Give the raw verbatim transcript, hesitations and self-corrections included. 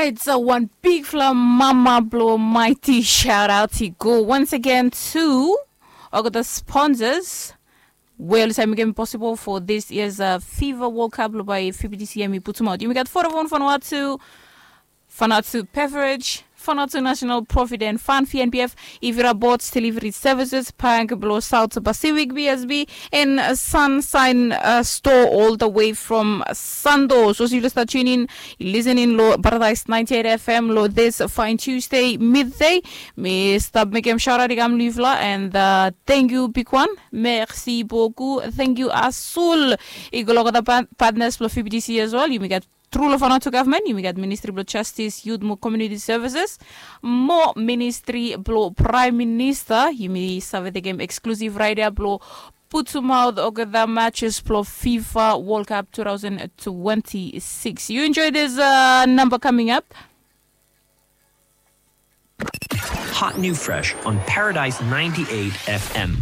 It's a one big fla mama blo mighty shout out i go once again to all the sponsors. Well, it's making possible for this year's uh, FIFA World Cup by F B T C M. Put them out. You got four of one fun out to Fanatu Beverage, Fanatu National Profit and Fund, F N B F, Ivira Bots Delivery Services, Bank Blo South Pacific B S B, and Sunshine uh, Store all the way from Sando. So you start tuning, listening lo Paradise ninety-eight F M lo this fine Tuesday midday. Mi stop make him shout out igam Livla and uh, thank you big one. Merci beaucoup. Thank you Asul. Igologa the partners lo F B T C as well. You may get Tru lo Vanuatu Government, yumi gat Ministry blo Justice, Youth mo Community Services, mo Ministry blo Prime Minister. Yumi save tekem exclusive right ia blo putumaot olgeta matches blo FIFA World Cup two thousand twenty-six. You enjoy this uh, number coming up. Hot new fresh on Paradise ninety-eight F M.